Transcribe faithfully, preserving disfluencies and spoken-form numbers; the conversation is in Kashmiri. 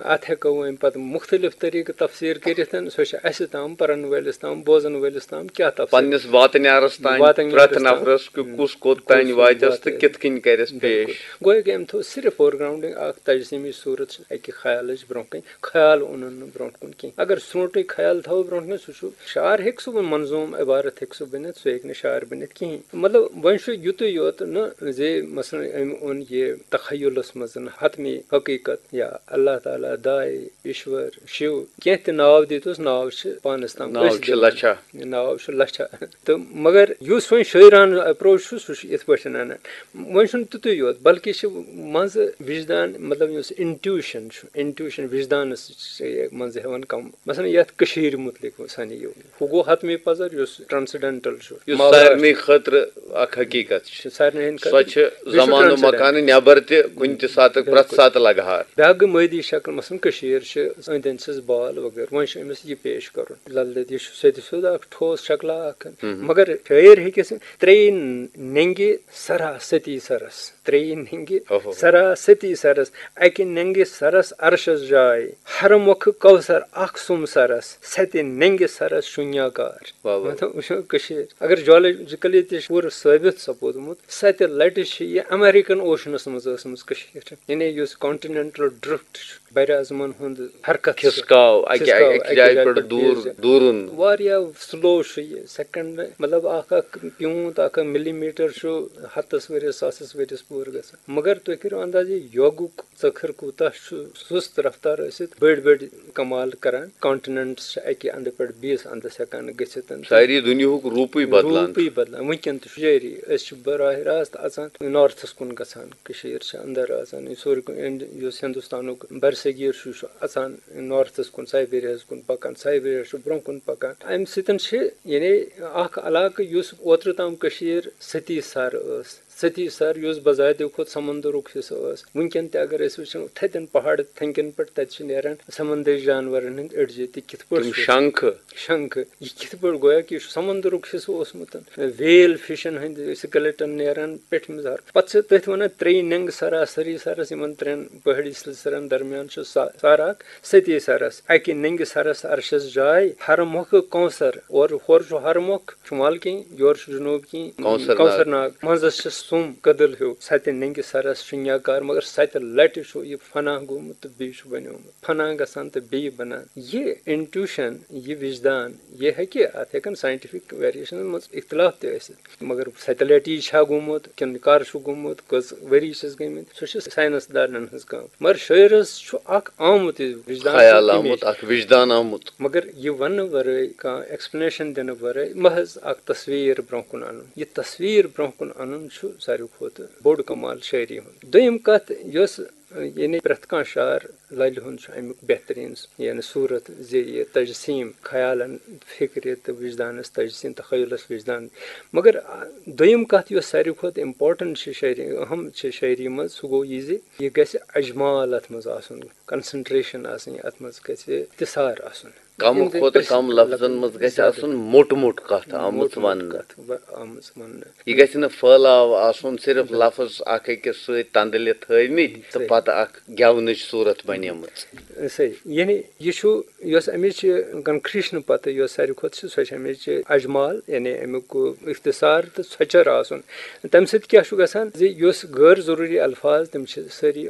اَتھ ہٮ۪کو وۄنۍ پَتہٕ مُختٔلِف طٔریٖقہٕ تفسیٖر کٔرِتھ۔ سۄ چھِ اَسہِ تام، پَرَن وٲلِس تام، بوزَن وٲلِس تام کیٛاہ تفسیٖر۔ پننِس واتنیارس تام، واتنیارس پرٛٮ۪تھ تام۔ نفرس کہِ کُس کوٚت تام کُس واتٮ۪س واتہِ۔ تہٕ کِتھ کٔنۍ کرٮ۪س بِلکُل۔ پیش۔ گویا کہِ أمۍ تھوٚو صرف فور گراؤنڈنگ، اکھ تجسیٖمی صوٗرت چھِ اَکہِ خیالٕچ برونٛہہ کَنہِ، خیال اوٚنُن نہٕ برونٛٹھ کُن کینٛہہ۔ اگر سرٛونٛٹٕے خیال تھاوو برونٛٹھ کَنہِ، سُہ چھُ شعر، ہیٚکہِ سُہ منظوٗم عبارت ہیٚکہِ سُہ بٔنِتھ، سُہ ہیٚکہِ نہٕ شعر بٔنِتھ کِہیٖنۍ۔ مطلب، وۄنۍ چھُ یُتُے یوت نہٕ زِ مثلاً أمۍ اوٚن یہِ تخیلس منٛز حتمی حقیٖقت یا اللہ تعالیٰ، داے، ایشور، شِو، کینٛہہ تہِ ناو دِتُس، ناو چھِ پانس تام، ناو أسۍ چھِ دِوان۔ لچھا۔ ناو چھُ لچھا۔ تہٕ مگر یُس وۄنۍ شٲعرانہٕ اپروچ چھُ، سُہ چھُ یِتھ پٲٹھۍ اَنان۔ وۄنۍ چھُنہٕ تیُتُے یوت، بلکہِ چھِ منٛزٕ وجدان، مطلب، یُس انٹیوشن چھُ، انٹیوشن وجدانس چھِ منٛزٕ ہٮ۪وان کم۔ مثلاً، یتھ کٔشیٖرِ مُتعلق سنیو، ہُہ گوٚو حتمی پذر، یُس ٹرانسڈینٹل چھُ، یُس ماورا سارنٕے خٲطرٕ اکھ حقیقت چھِ۔ چھُ سارنٕے ہٕنٛدِ سۄ خٲطرٕ۔ چھِ بیٚیہِ چھُ زمانہٕ ٹرانسڈینٹ۔ مکانہٕ نٮ۪بر تہِ، کُنہِ تہِ ساتہٕ، پرٛٮ۪تھ بِلکُل۔ ساتہٕ لگہار۔ بیٛاکھ گٔے مٲدی شکل، مثلاً، کٔشیٖر چھِ، أنٛدۍ أنٛدۍ چھِس بال وغٲرٕ۔ وۄنۍ چھُ أمِس یہِ پیش کرُن۔ لل دٮ۪د، یہِ چھُ سیٚدِ سیوٚد اکھ ٹھوس شکلہ اکھ۔ ہم۔ مگر شٲعر ہیٚکہِ سُہ ترٛیٚیہِ ننٛگہِ سرا ستی سرس، ترٛیٚیہِ ننٛگہِ اوہو۔ سرا ستی سرس، اکہِ ننٛگہِ سرس عرشس جاے، ہر مۄکھٕ کوثر اکھ سُم سرس، ستہِ ننٛگہِ سرس شونیاکار۔ واہ واہ۔ مطلب، وٕچھو کٔشیٖر۔ اگر جیولوجیکلی تہِ چھُ پوٗرٕ ثٲبت سپودمُت، ستہِ لٹہِ چھِ یہِ امریکن اوشنس منٛز ٲسمٕژ کٔشیٖر۔ یعنی یُس کانٹیننٹل ڈرفٹ چھُ، بر اعظمن ہُنٛد حرکت چھُ۔ کھسکاو، اکہِ، کھسکاو، اکہِ اکہِ جایہِ جایہِ پٮ۪ٹھ پٮ۪ٹھ دوٗر، بیٚیِس جایہِ۔ دوٗرُن۔ واریاہ سلو چھُ یہِ، سیکنڈ، مطلب، اکھ اکھ پیوٗنت، اکھ اکھ ملی میٹر چھُ ہتس ؤرِیس، ساسس ؤرِیس پوٗرٕ گژھان۔ مگر تُہۍ کٔرِو انداز، یہِ یوگُک ژٔکھر کوٗتاہ چھُ سُست رفتار ٲسِتھ بٔڑۍ بٔڑۍ کمال کران۔ کانٹیننٹس چھِ اکہِ اندٕ پٮ۪ٹھ بیٚیِس اندس ہٮ۪کان گٔژھِتھ۔ ساری دُنیاہُک روٗپٕے بدلان۔ روٗپٕے بدلان۔ وٕنکیٚن تہِ چھُ جٲری۔ أسۍ چھِ براہ راست اژان نارتھس کُن گژھان۔ کٔشیٖر چھِ اندر اژان۔ یہِ سورُے کُن اِنڈ-، یُس ہندوستانُک برصغیٖر چھُ، یہِ چھُ اژان نارتھس کُن، سائبیریاہس کُن پکان۔ سائبیریا چھُ برونٛہہ کُن پکان۔ امہِ سۭتۍ چھِ، یعنی، اکھ علاقہٕ یُس اوترٕ تام کٔشیٖر ستی سر ٲس، ستی سر یُس بذاتِ خود سمندرُک حصہٕ ٲس، وٕنکیٚن تہِ اگر أسۍ وٕچھو، تھدٮ۪ن پہاڑ تھنٛگٮ۪ن پٮ۪ٹھ، تتہِ چھِ نیران سمندری جانورن ہٕنٛدۍ أڈجہِ تہِ۔ کِتھ پٲٹھۍ تِم چھِ؟ شنٛکھٕ۔ شنٛکھٕ۔ یہِ کِتھ پٲٹھۍ گویا کہِ یہِ چھُ سمندرُک حصہٕ اوسمُت؟ ویل فشن ہٕنٛدۍ سکیلٹن نیران پیٚٹھمہِ زہر۔ پتہٕ چھِ تٔتھۍ ونان ترٛیٚیہِ ننٛگہٕ سراسری سرس، یِمن ترٛٮ۪ن پہٲڑی سلسلن درمیان چھُ سا-، سر اکھ، ستی سرس۔ اکہِ ننٛگہِ سرس عرشس جاے، ہر مۄکھٕ کونسر، اورٕ ہورٕ چھُ ہر مۄکھ شمال کِنۍ، یورٕ چھُ جنوب کِنۍ کونسر ناگ۔ کونسر ناگ۔ منٛزس چھِ سُم کدل ہیوٗ۔ ستہِ ننٛگہِ سرس شُنیاکار، مگر ستہِ لٹہِ چھُ یہِ فنا گوٚمُت تہٕ بیٚیہِ چھُ بنیومُت۔ فنا گژھان تہٕ بیٚیہِ بنان۔ یہِ انٹیوشن، یہِ وجدان، یہِ ہیٚکہِ، اتھ ہیٚکن ساینٹیفک ویریشنن منٛز اختلاف تہِ ٲسِتھ، مگر ستہِ لٹہِ یہِ چھا گوٚمُت کِنہٕ کر چھُ گوٚمُت، کٔژ ؤری چھِس گٔمٕتۍ، سُہ چھِ ساینس دانن ہٕنٛز کٲم۔ مگر شٲعرس چھُ اکھ آمُت یہِ وجدان خیال تہٕ آمُت، امیج۔ اکھ وجدان آمُت۔ مگر یہِ وننہٕ ورٲے، کانٛہہ ایکسپلینیشن دِنہٕ ورٲے، محض اکھ تصویر برونٛہہ کُن انُن۔ یہِ تصویر برونٛہہ کُن انُن چھُ ساروی کھۄتہٕ بوٚڑ کمال شٲعری ہُنٛد۔ دوٚیِم کتھ، یۄس، یعنی، پرٛٮ۪تھ کانٛہہ شعر للہِ ہُنٛد چھُ امیُک بہتریٖن، یعنی، صوٗرت زِ یہِ تجسیٖم خیالن، فکرِ تہٕ وجدانس تجسیٖم، تخیلس وجدان۔ مگر، آ، دوٚیِم کتھ یۄس ساروی کھۄتہٕ امپورٹنٹ چھِ شٲعری، اہم چھِ شٲعری منٛز، سُہ گوٚو یہِ زِ یہِ گژھِ اجمال اتھ منٛز آسُن، کنسنٹریشن آسٕنۍ، اتھ منٛز گژھِ اختصار آسُن۔ کم یِم تہِ کھۄتہٕ أسۍ کم لفظن منٛز گژھِ زیادٕ آسُن موٚٹ موٚٹ کتھ آمٕژ موٚٹ موٚٹ وننہٕ۔ کتھ و-، آمٕژ وننہٕ۔ یہِ گژھِ نہٕ پھٲلاو آسُن، صرف بِلکُل۔ لفظ اکھ أکِس سۭتۍ تندلہِ تھٲومٕتۍ تہٕ صحیح۔ پتہٕ اکھ گٮ۪ونٕچ صورت بنیمٕژ۔ صحیح۔ یعنی یہِ چھُ، یۄس امِچ کنکریشن پتہٕ یۄس ساروی کھۄتہٕ چھِ، سۄ چھِ امِچ اجمال، یعنی امیُک اختصار تہٕ ژھۄچر آسُن۔ تمہِ سۭتۍ کیٛاہ چھُ گژھان زِ یۄس غٲر ضروٗری الفاظ، تِم چھِ سٲری